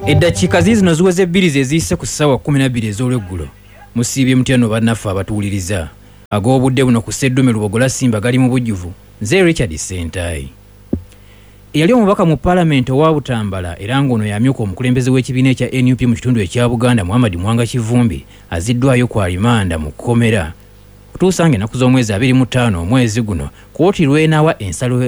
Eddakiika ziizino ziweze bbiri ze ziyise ku ssaawa 12 ez'olweggulo. Musiibye mutya nno bannaffe abatuwuliriza? Ag'obudde buno ku Sseddume Lubogola Simba gali mu bujjuvu. Nze Richard Ssentayi. Eyali omubaka mu Palamenti owa Butambala era ng'ono y'amyuka omukulembeze w'ekibiina ekya nup mu kitundu ekya Buganda Muhammad Muwanga Kivumbi azziddwayo ku alimanda mu kkomera okutuusa ng'ennaku z'omwezi 25 omwezi guno kkooti lw'enaawa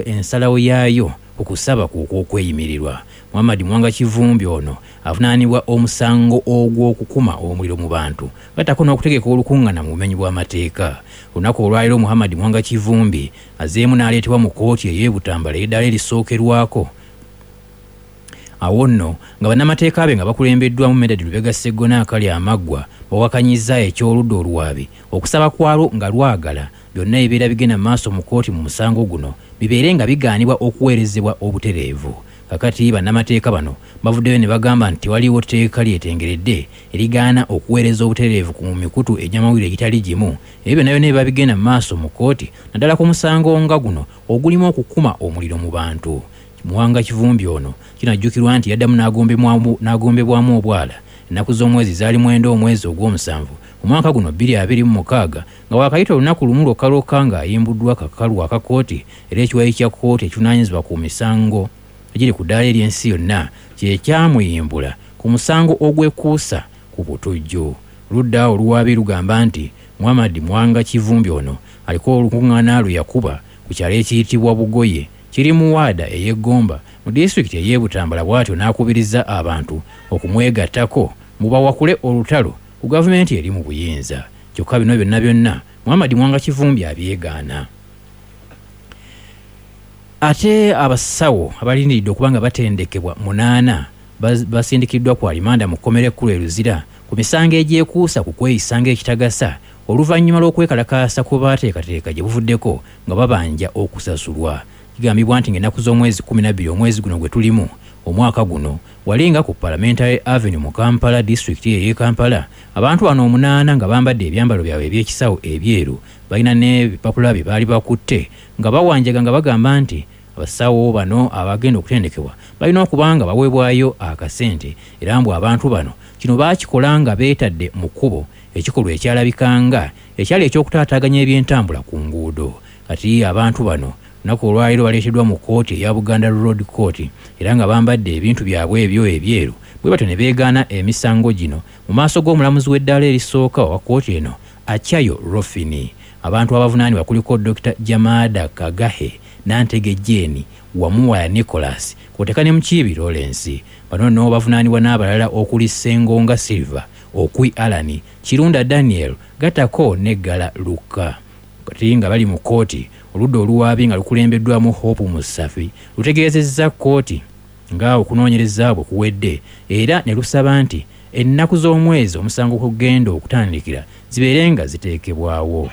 ensalawo yaayo ku kusaba kwe okw'okweyimirirwa. Muhammad Muwanga Kivumbi ono avunaanibwa omusango ogw'okukuma omuliro mu bantu gattako n'okutegeka olukungana mu bumenyi bw'amateeka. Olunaku olwaleero Muhammad Muwanga Kivumbi azeemu n'aleetebwa mu kkooti ey'e Butambala ey'eddaala erisookerwako. Awo nno nga bannamateeka be nga bakulembeddwamu Medard Lubega Sseggona akali amaggwa bawakanyizza eky'oludda oluwaabi okusaba kwalwo nga lwagala byonna ebibeera bigenda mu maaso mu kkooti mu musango guno bibeere nga bigaanibwa okuweerezebwa obutereevu. Kakati bannamateeka bano bavuddeyo ne bagamba nti tewaliiwo tteeka lyetengeredde erigaana okuweereza obutereevu ku mikutu egy'amawulire egitali gimu ebyo byonna byonna ebiba bigenda mu maaso mu kkooti naddala ku musango nga guno ogulimu okukuma omuliro mu bantu. Muwanga Kivumbi ono kinajjukirwa nti yaddamu n'agombebwamu obwala ennaku z'omwezi zaali mwenda omwezi ogw'omusanvu omwaka guno 2026 nga waakayita olunaku lumu lwokka lwokka ng'ayimbuddwa kakalu aka kkooti era ekiwayi kya kkooti ekivunaanyizibwa ku misango egiri ku ddaala ery'ensi yonna kye kyamuyimbula ku musango ogwekuusa ku butujju. Oludda oluwaabi lugamba nti Muhammad Muwanga Kivumbi ono aliko olukung'aana lwe yakuba ku kyalo ekiyitibwa Bugoye kiri mu waada ey'e Gomba mu disitulikiti ey'e Butambala bw'atyo n'akubiriza abantu okumwegattako mbu bawakule olutalo ku gavumenti eri mu buyinza. Kyokka bino byonna byonna Muhammad Muwanga Kivumbi abyegaana. Ate abasawo abalindiridde okuba nga batendekebwa munaana basindikiddwa ku alimanda mu kkomera ekkulu e Luzira ku misango egyekuusa ku kweyisa ng'ekitagasa oluvannyuma lw'okwekalakaasa kwe baateekateeka gye buvuddeko nga babanja okusasulwa. Kigambibwa nti ng'ennaku z'omwezi 12 omwezi guno gwe tulimu omwaka guno wali nga ku Parliamentary Avenue mu Kampala disitulikiti eyo ey'e Kampala abantu bano omunaana nga bambadde ebyambalo byabwe eby'ekisawo ebyeru balina n'ebipapula bye baali bakutte nga bawanjaga nga bagamba nti abasawo bano abagenda okutendekebwa balina okuba nga baweebwayo akasente era mbu abantu bano kino baakikola nga beetadde mu kkubo ekikolwa ekyalabika nga ekyali eky'okutaataaganya ebyentambula ku nguudo. Kati abantu bano olunaku olwaleero baleeteddwa mu kkooti eya Buganda Road Court era nga bambadde ebintu byabwe ebyo ebyeru bwe batyo ne beegaana emisango gino mu maaso g'omulamuzi w'eddaala erisooka owa kkooti eno Achayo Rofini. Abantu abavunaanibwa kuliko Dokita Jamada Kagahe, Nantege Jane, Wamuwaya Nicholas kw'oteeka ne Mukiibi Lawrence. Bano nno bavunaanibwa n'abalala okuli Ssengonga Silver, Okwi Allan, Kirunda Daniel gattako ne Ggala Lukka. Kati nga bali mu kkooti, oludda oluwaabi nga lukulembeddwamu Hope Musafi lutegeezezza kkooti nga okunoonyereza bwe kuwedde era ne lusaba nti ennaku z'omwezi omusango kwe gugenda okutandikira zibeere nga ziteekebwawo.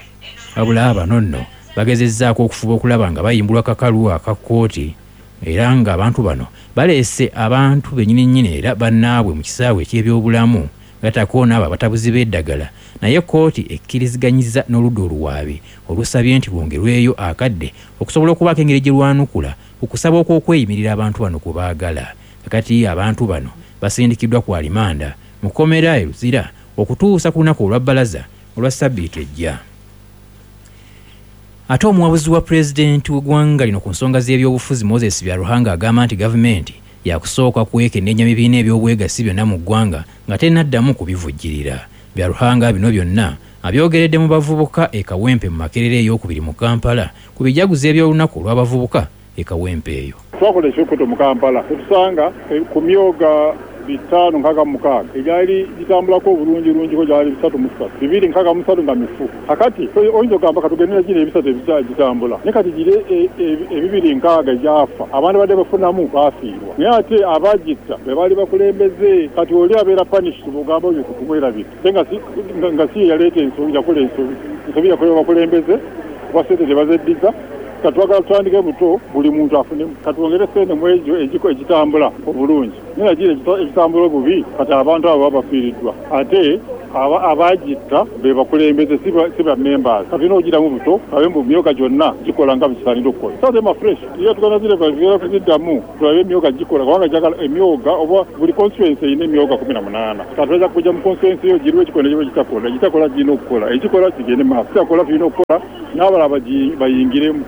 Wabula bano nno bagezezzaako okufuba okulaba nga bayimbulwa kakalu aka kkooti era nga abantu bano baleese abantu bennyini nnyini era bannaabwe mu kisaawe eky'ebyobulamu gattako n'abo abatabuzi b'eddagala naye kkooti ekkiriziganyizza n'oludda oluwaabi olusabye nti lwongerweyo akadde okusobola okubaako engeri gye lwanukula ku kusaba okw'okweyimirira abantu bano kwe baagala. Kakati abantu bano basindikiddwa ku alimanda mu kkomera e Luzira okutuusa ku lunaku olwa bbalaza olwa ssabbiiti ejja. Ate omuwabuzi wa pulezidenti w'eggwanga lino ku nsonga z'ebyobufuzi Moses Byaruhanga agamba nti gavumenti yakusooka kwekenneenya bibiina eby'obwegassi byonna mu ggwanga nga tennaddamu kubivujjirira. Byaruhanga bino byonna abyogeredde mu bavubuka e Kawempe mu Makerere ey'okubiri mu Kampala ku bijaguzo eby'olunaku olw'abavubuka e Kawempe eyo. Twakola ekikutu mu Kampala ne tusanga ku myoga 566 egyali gitambulaku obulungirungiko gyali 303, 263 nga mifu. Kakati oyinza okugamba katugende na gino ebisatu egitambula, naye kati giri ebibiri nkaaga egyafa abantu abadde bafunamu baafiirwa. Naye ate abaagitta be baali bakulembeze. Kati oli abeera punished bw'ogamba oyo kumwerabira ate nga si ye yaleeta ensobi, yakola ensobi. Ensobi yakolebwa bakulembeze kuba sente tebazeddiza. Kati twagala tutandike buto buli muntu afunemu. Katwongere sente mu egyo egitambula obulungi naye na gino egitambula obubi kati abantu abo baba bafiiriddwa ate. Abagitta be bakulembeze, si ba members. Tulina okugiramu buto abe mu myoga gyonna gikola nga bwekisaanira okukola. Sazema fresh era tugenda zireva kuziddamu tulabe emyoga gikola, kubanga njagala emyoga oba buli constituency erina emyoga 18. Kati tuyinza kujja mu constituency yo giriwo ekikola nekiba ekitakola, ekitakola girina okukola, ekikola kigende maaso, ekitakola tulina okukola n'abalala bayingiremu.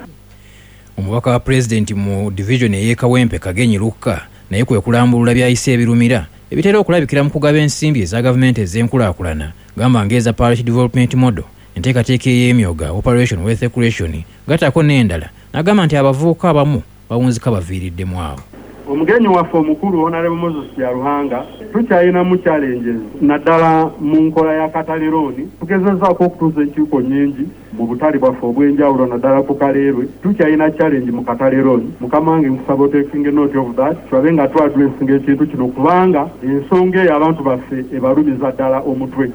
Omubaka wa Pulezidenti mu divizoni ey'e Kawempe, Kagenyi Lukka naye kwe kulambulula by'ayise ebirumira ebitera okulabikira mu kugaba ensimbi eza gavumenti ez'enkulaakulana gamba ng'eza Parish Development Model, enteekateeka ey'emyoga, Operation Wealth Creation gattako n'endala n'agamba nti abavubuka abamu bawunzika baviiriddemu awo. Omugenyi waffe omukulu Honourable Moses Byaruhanga, tukyalinamu challenges naddala mu nkola ya Katale Loan. Tugezezzaako okutuuza enkiiko nnyingi mu butale bwaffe obw'enjawulo naddala ku Kaleerwe. Tukyalina challenge mu Katale Loan. Mukama wange nkusaba otakinge note of that tulabe nga tu addressinga ekintu kino kubanga ensonga eyo abantu baffe ebalumiza ddala omutwe.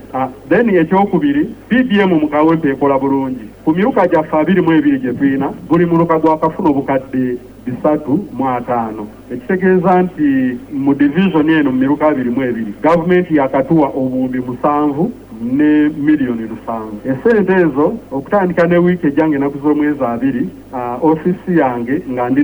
Then ekyokubiri, PDM mu Kawempe ekola bulungi. Ku miruka gyaffe 22 gye tulina, buli muluka gwakafuna obukadde 350, ekitegeeza nti mu divizoni eno mu miruka 22, gavumenti yakatuwa obuwumbi 7 ne miliyoni 7. Essente ezo okutandika ne wiiki ejja ng'ennaku z'omwezi 20, ofiisi yange nga ndi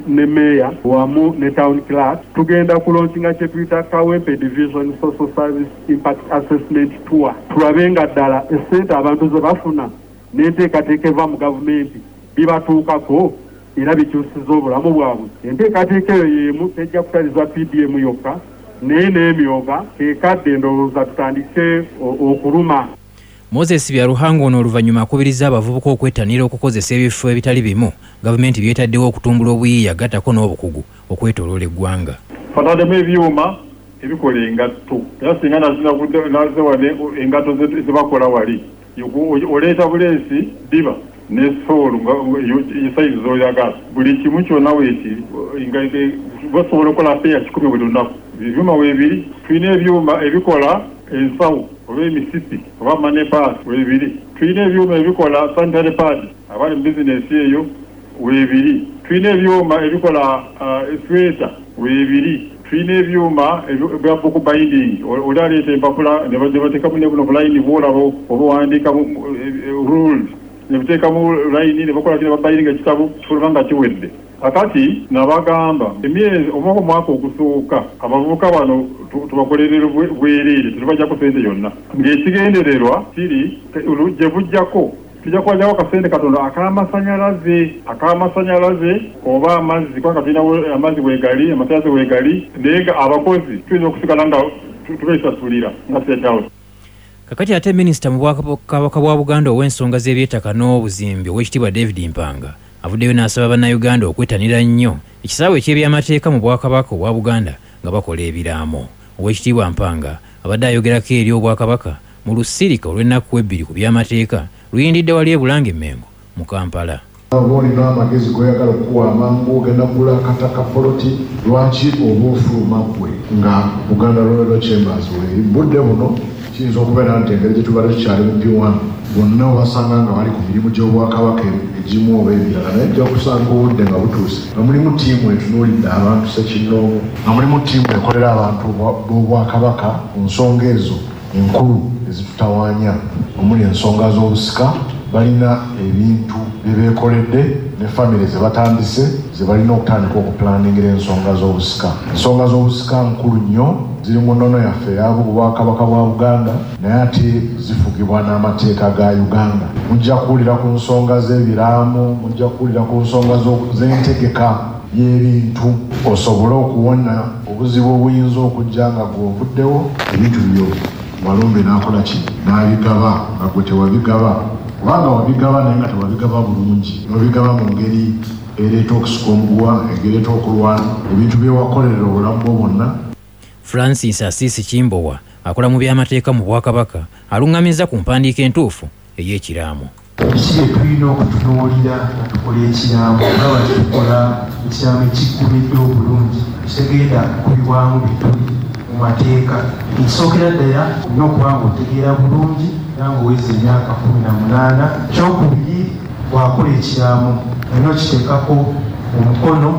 ne meeya wamu ne town clerk tugenda kulonkinga kye tuyita Kawempe Division Social Service Impact Assessment Tour tulabe nga ddala essente abantu ze bafuna n'enteekateeka eva mu gavumenti bibatuukako era bikyusiza obulamu bwabwe. Enteekateeka eyo y'emu tejja kutaliza PDM yokka naye n'emyoga kekadde ndowooza tutandike okuluma. Moses Byaruhanga ono oluvannyuma akubirizza abavubuka okwettanira okukozesa ebifo ebitali bimu gavumenti by'etaddewo okutumbula obuyiiya gattako n'obukugu okwetooloola eggwanga. Twataddemu ebyuma ebikola engatto era singa naze wano engatto ze bakola wali oleeta buleesi ddiba ne soolo nga sayizi z'oyagala buli kimu kyonna weekiri nga basobola okukola peya 100 buli lunaku. Ebyuma weebiri. Tulina ebyuma ebikola ensawo oba emisipi oba money purse weebiri. Tulina ebyuma ebikola sanitary pad abali mu bizinensi eyo weebiri. Tulina ebyuma ebikola esweta weebiri. Tulina ebyuma ebya book binding, oli aleeta empapula ne bateekamu ne buno bulayini bw'olaba oba owandiikamu rules ne buteekamu layini ne bakola ki ne babayindinga ekitabo kifuluma nga kiwedde. Kakati nabagamba emyezi oba omwaka ogusooka abavubuka bano tubakolerere bwereere tetubajjako ssente yonna ng'ekigendererwa kiri gye bujjako tujja kubajjako akasente katono ak'amasanyalaze ak'amasanyalaze oba amazzi kubanga tulinawo amazzi weegali amasanyalaze weegali naye nga abakozi tuyinza okusigala nga tubeesasulira nga State House. Kakati ate minisita mu Bwakabaka bwa Buganda ow'ensonga z'ebyettaka n'obuzimbi Oweekitiibwa David Mpanga avuddeyo n'asaba Bannayuganda okwettanira nnyo ekisaawe eky'ebyamateeka mu Bwakabaka obwa Buganda nga bakola ebiraamo. Oweekitiibwa Mpanga abadde ayogerako eri Obwakabaka mu lusirika olw'ennaku ebbiri ku by'amateeka luyindidde wali e Bulange Mmengo mu Kampala. Oba olina amagezi g'oyagala okukuwa amangu, ogenda kugula akataka poloti, lwaki oba ofuluma ggwe nga Buganda Royal Law Chambers weeri? Mu budde buno kiyinza okubeera nti engeri gye tubadde tukyali mu P1 bonna obasanga nga bali ku mirimu gy'Obwakabaka egimu oba emirala naye ojja kusanga obudde nga butuuse nga mulimu ttiimu etunuulidde abantu ssekinnoomu, nga mulimu ttiimu ekolera abantu b'Obwakabaka ku nsonga ezo enkulu ezitutawaanya omuli ensonga z'obusika. Balina ebintu bye beekoledde ne famire ze batandise ze balina okutandika okupulaningira ensonga z'obusika. Ensonga z'obusika nkulu nnyo, ziri mu nnono yaffe eya Bwakabaka bwa Buganda naye ate zifugibwa n'amateeka ga Uganda. Mujja kuwulira ku nsonga z'ebiraamo, mujja kuwulira ku nsonga z'entegeka y'ebintu osobole okuwona obuzibu obuyinza okujja nga ggwe ovuddewo. Ebintu byo Walumbe n'akola ki? N'abigaba nga ggwe tewabigaba. Kubanga wabigaba naye nga tewabigaba bulungi, n'obigaba mu ngeri ereeta okusika omuguwa, ereeta okulwana, ebintu bye wakolerera obulamu bwo bwonna. Francis Asiisi Kimbowa akola mu by'amateeka mu Bwakabaka alung'amizza ku mpandiika entuufu ey'ekiraamo. Biki bye tulina okutunuulira nga tukola ekiraamo okulaba nti tukola ekiraamo ekiggumidde obulungi ekitagenda kukubibwamu bituli mu mateeka? Ekisookera ddala olina okuba ng'otegeera bulungi era ng'oweza emyaka 18. Ekyokubiri bw'akola ekiraamo olina okiteekako omukono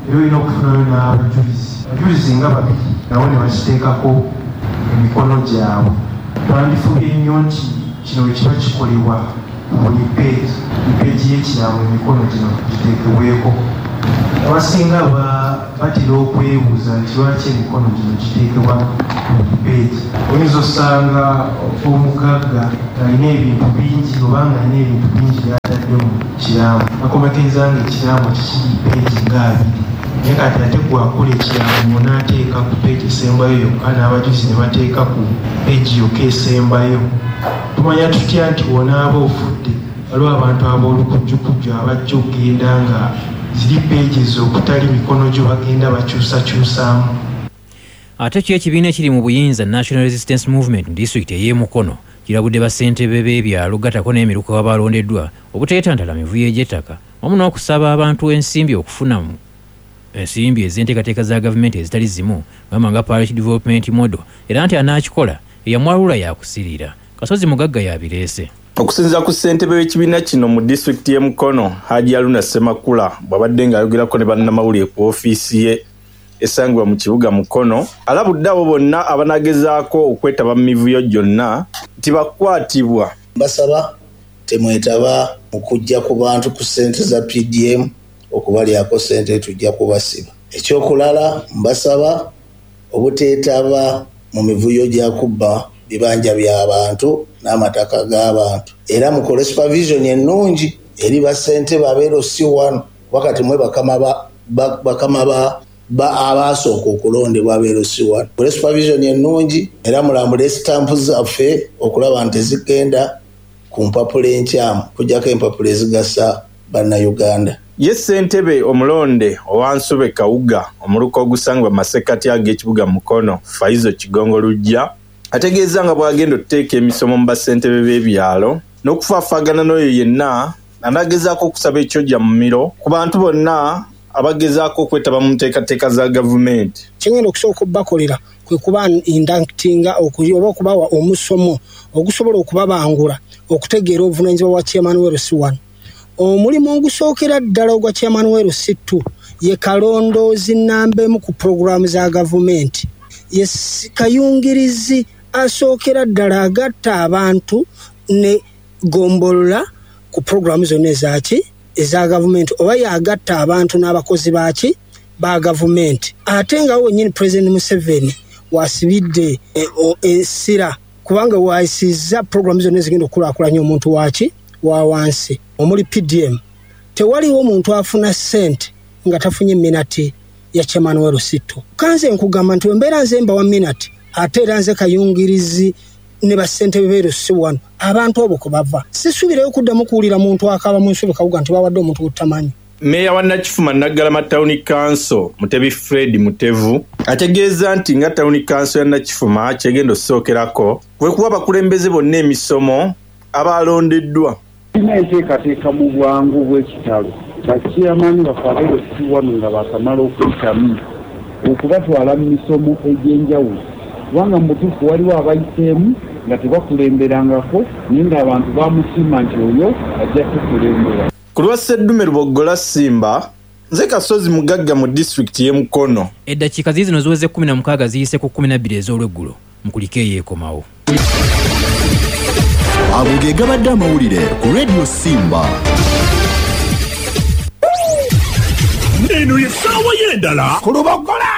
era olina okufunayo n'abajulizi, abajulizi nga babiri nabo ne bakiteekako emikono gyabwe. Twandifubye nnyo nti kino bwe kiba kikolebwa ku buli peegi, buli peegi y'ekiraamo emikono gino giteekebweko. Abasinga batera okwebuuza nti lwaki emikono gino giteekebwa ku buli peegi. Oyinza osanga omugagga ng'alina ebintu bingi oba ng'alina ebintu bingi by'atadde mu kiraamo, n'akomekkereza ng'ekiraamo kye kiri peegi nga abiri. Naye kati ate ggwe akola ekiraamo onaateeka ku peegi esembayo yokka n'abajulizi ne bateeka ku peegi yokka esembayo. Tumanya tutya nti bw'onaaba ofudde waliwo abantu ab'olukujjukujju abajja okugenda nga ziri pages okutali mikono gyo bagenda bakyusakyusaamu. Ate kyo ekibiina ekiri mu buyinza National Resistance Movement mu disitulikiti ey'e Mukono kirabudde bassentebe b'ebyalo gatako n'emiruka abalondeddwa obuteetantala mivuyo egy'ettaka wamu n'okusaba abantu ensimbi okufuna ensimbi ez'enteekateeka za gavumenti ezitali zimu gamba nga Parish Development Model era nti anaakikola eyamwalula yaakusirira. Kasozi Mugagga y'abireese. Okusinziira ku ssentebe w'ekibiina kino mu disitulikiti y'e Mukono, Haji Haruna Ssemakula bw'abadde ng'ayogerako ne bannamawulire ku ofiisi ye esangibwa mu kibuga Mukono, alabudde abo bonna abanagezaako okwetaba mu mivuyo gyonna nti bakukwatibwa. Mbasaba temwetaba mu kujja ku bantu ku ssente za PDM okubalyako ssente tujja kubasiba. Ekyokulala mbasaba obuteetaba mu mivuyo gya kubba bibanja bya bantu n'amataka g'abantu era mukole supervision ennungi eri bassentebe aba LC1 kuba kati mwe bakama ba bakama ba ba abaasooka okulondebwa aba LC1. Mukole supervision ennungi era mulambule sitampu zaffe okulaba nti tezigenda ku mpapula enkyamu okuggyako empapula ezigasa Bannayuganda. Ye ssentebe omulonde owa Nsobe Kawuga omuluka ogusangibwa mu masekkati ag'ekibuga Mukono, Faizo Kigongo Luggya ategeezza nga bw'agenda otuteeka emisomo mu bassentebe b'ebyalo n'okufaafaagana n'oyo yenna anaagezaako okusaba ekyojja mumiro ku bantu bonna abagezaako okwetaba mu nteekateeka za gavumenti. Kye ngenda okusooka obakolera kwe kuba inductinga oba okubawa omusomo ogusobola okubabangula okutegeera obuvunaanyizibwa bwa Chairman wa LC1. Omulimu ogusookera ddala ogwa Chairman wa LC2 ye kalondoozi nnamba emu ku pulogulaamu za gavumenti. Ye kayungirizi asookera ddala agatta abantu ne ggombolola ku pulogulaamu zonna eza ki? Eza gavumenti oba y'agatta abantu n'abakozi ba ki? Ba gavumenti. Ate nga wo wennyini Pulezidenti Museveni w'asibidde essira kubanga w'ayisizza pulogulaamu zonna ezigenda okukulaakulanya omuntu wa ki? Wa wansi omuli PDM. Tewaliiwo muntu afuna ssente nga tafunye minati ya Chairman wa LC2. Kanze nkugamba nti wembeera nze mbawa minati ate era nze kayungirizi ne bassentebe be LC1 abantu abo kwe bava. Sisuubirayo kuddamu kuwulira muntu akaaba mu nsobi Kawuga nti bawadde omuntu gw'otamanyi. Mmeeya wa Nakifuma Naggalama Town Council, Mutebi Fred Mutevu ategeezza nti nga Town Council ya Nakifuma ky'egenda okusookerako kwe kuwa abakulembeze bonna emisomo abaalondeddwa. Tulina enteekateeka mu bwangu bw'ekitalo ba chairman baffe aba LC wano nga baakamala okuyitamu okubatwala mu misomo egy'enjawulo kubanga mu butuufu waliwo abayiseemu nga tebakulemberangako naye ng'abantu bamusiima nti oyo ajja tukulembera. Ku lwa Sseddume Luboggola Simba, nze Kasozi Mugagga mu disitulikiti y'e Mukono. Eddakiika ziizino ziweze 16 ziyise ku 12 ez'olweggulo. Mukulike eyeekomawo. Ago ge gabadde amawulire ku Radio Simba. Eno ye ssaawa y'endala ku Luboggola.